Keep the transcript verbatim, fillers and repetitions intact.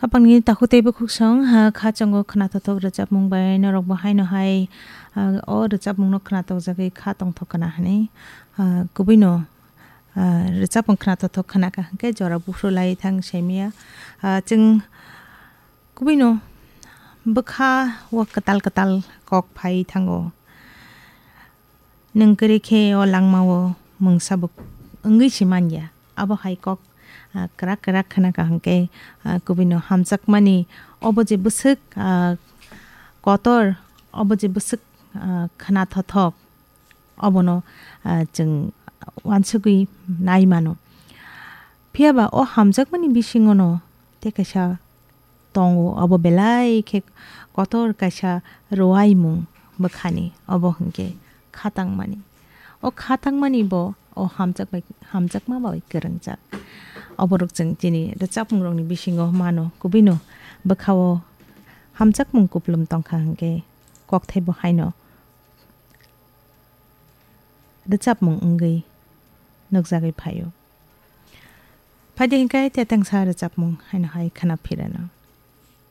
Hapangni takhuk tei bwkhuksong, ha, kha chongo khwnathothok rwchapmung bai norokbo haino hai, ah, o rwchapmungno khwnatokjagwi kha tongthok khna hwnwi, ah, kubuino, ah, rwchapmung khwnathothok khna kha hwnkhe jora buphru lai thang saimaya. Ah, chwng kubuino bwkha o kwtal kwtal kok phai thango. Nwng kwrwi khe o langmao mungsa bo wngwi se man ya. Abo hai kok, ah, kwrak kwrak khna kha hwnkhe, ah, kubuino hamjakmani obo je bwswk, ah, kotor, obo je bwswk, ah, khna thothok, obono, ah, chwng uansugwi nai mano. Phiya ba o hamjakmani bisingono tei kaisa tongo, obo belai khe kotor kaisa rwuaimung bwkhani, obo hwnkhe khatangmani. O khatangmani bo o hamjak bai, hamjakma bai kwrwngjak. Oborok chwng chini rwchapmungrokni bisingo mano, kubuino bwkhao hamjakmung kupulum tongkha hwnkhe kokthaibo haino rwchapmung wngwi nukjagwi phaio. Phaidi hwnkhe tetengsa rwchapmung haino hai khna phirano.